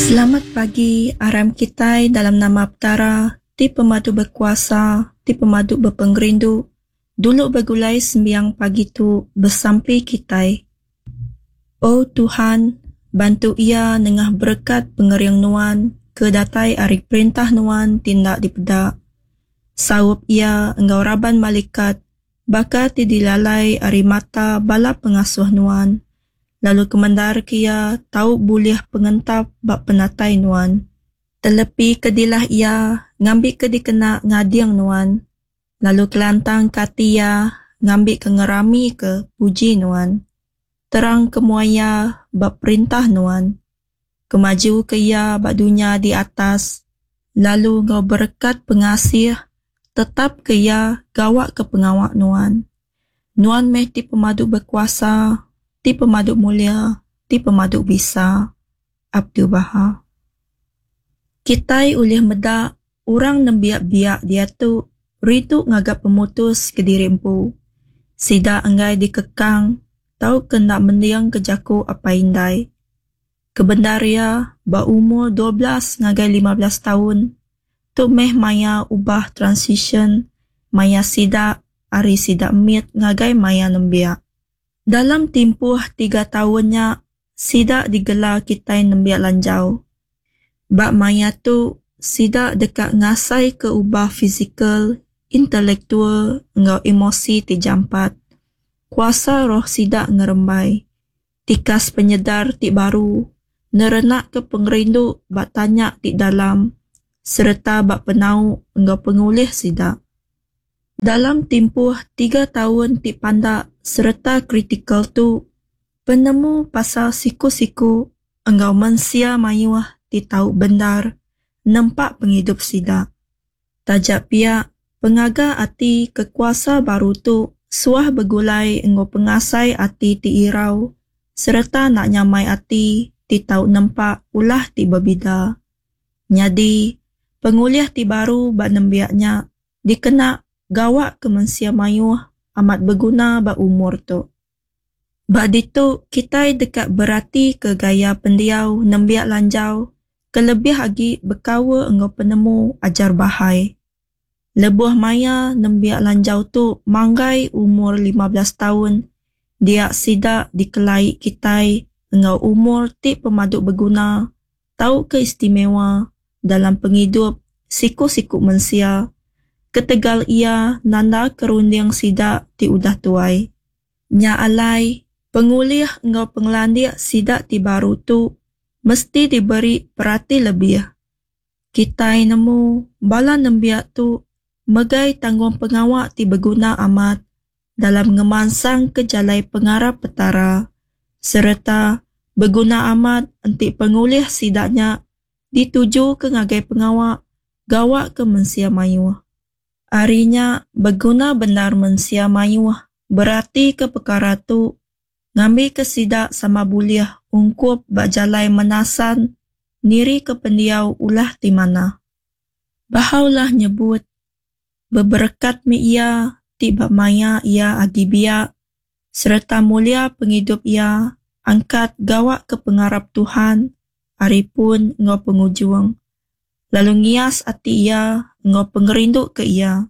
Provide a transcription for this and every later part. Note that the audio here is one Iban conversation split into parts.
Selamat pagi aram kitai dalam nama Petara ti pemadu bekuasa ti pemadu bepengerindu dulu begulai sembiang pagi tu besampi kitai. O Tuhan bantu iya nengah berekat pengering Nuan ke datai ari perintah Nuan ti enda dipeda. Saup iya enggau raban malikat baka ti dilalai ari mata bala pengasuh Nuan lalu kemendarka iya tau bulih pengentap ba penatai Nuan. Telepika dilah iya ngambika dikena ngading Nuan, lalu kelantangka ati iya ngambika ngeramika puji Nuan. Terangka mua iya ba perintah Nuan. Kemajuka iya ba dunya di atas, lalu enggau berekat pengasih tetapka iya gawaka pengawa Nuan. Nuan meh ti pemadu bekuasa, ti pemadu mulia, ti pemadu bisa. Abdu'l-Bahá. Kitai ulih meda orang nembiak biak diatu rindu ngaga pemutus kediri empu. Sida enggai dikekang tauka enda mendingka jaku apai indai. Kebendar iya, ba umur 12 ngagai 15 taun, tu meh maya ubah transisyen maya sida ari sida mit ngagai maya nembiak. Dalam timpuh tiga taun nya, sida digela kitai nembiak lanjau. Ba maya tu, sida deka ngasaika ubah fizikal, intelektual enggau emosi ti jampat. Kuasa roh sida ngerembai. Tikas penyedar ti baru nerenakka pengerindu ba tanya ti dalam sereta ba penau enggau pengulih sida. Dalam timpuh tiga taun ti pandak sereta kritikal tu, penemu pasal siku-siku enggau mensia mayuh ti tau bendar nempa pengidup sida. Taja pia, pengaga ati ke kuasa baru tu suah begulai enggau pengasai ati ti irau sereta enda nyamai ati ti tau nempa ulah ti bebida. Nyadi, pengulih ti baru ba nembiak nya dikena gawa ke mensia mayuh amat beguna ba umur tu. Ba ditu kitai deka beratika gaya pendiau nembiak lanjau kelebih agi bekaul enggau penemu ajar Baha'i. Lebuh maya nembiak lanjau tu manggai umur 15 taun dia sida dikelai kitai enggau umur ti pemadu beguna tauka istimewa dalam pengidup siku-siku mensia ketegal iya nandaka runding sida ti udah tuai. Nya alai, pengulih enggau pengelandik sida ti baru tu mesti diberi perati lebih. Kitai nemu bala nembiak tu megai tanggungpengawa ti beguna amat dalam ngemansangka jalai pengarap Petara sereta beguna amat enti pengulih sida nya ditujuka ngagai pengawa gawa ke mensia mayuh. Ari nya, beguna bendar mensia mayuh beratika pekara tu ngambika sida sama bulih ungkup ba jalai menasan nirika pendiau ulah ti manah. Baha'u'llah nyebut, Beberekat meh iya ti ba maya iya agi biak sereta mulia pengidup iya angkat gawa ke pengarap Tuhan ari pun enggau pengujung, lalu ngias ati iya enggau pengerindu ke iya.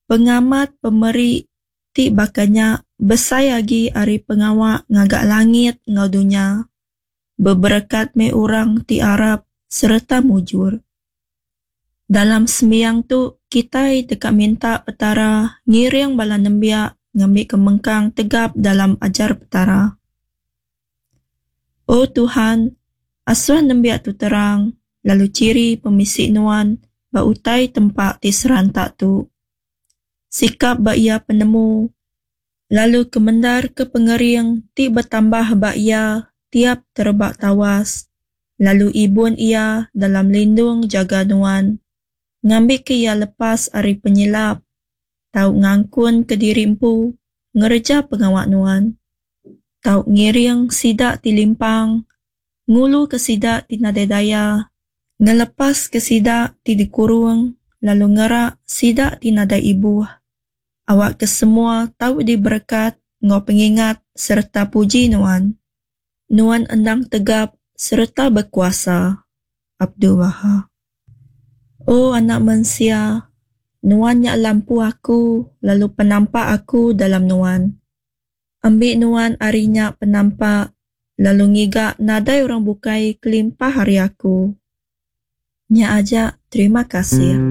Pengamat pemeri ti baka nya besai agi ari pengawa ngaga langit enggau dunya. Beberekat meh orang ti arap sereta mujur. Dalam sembiang tu, kitai deka minta Petara ngiring bala nembiak ngambika mengkang tegap dalam ajar Petara. O Tuhan, asuh nembiak tu terang lalu chiri pemisi Nuan ba utai tempa ti seranta tu. Sikap ba iya penemu, lalu kemendarka pengering ti betambah ba iya tiap terebak tawas, lalu ibun iya dalam lindung jaga Nuan, ngambika iya lepas ari penyilap, tau ngangkunka diri empu ngereja pengawa Nuan. Tau ngiring sida ti limpang, nguluka sida ti nadai daya, ngelepaska sida ti dikurung lalu ngerak sida ti nadai ibuh. Awakka semua tau diberekat enggau pengingat sereta puji Nuan. Nuan endang tegap. sereta bekuasa. Abdu'l-Bahá. O Anak Mensia, nuan nya lampu Aku lalu penampak Aku dalam nuan. Ambi nuan ari nya penampak lalu ngiga nadai orang bukai kelimpah ari Aku. Nya aja, terima kasih.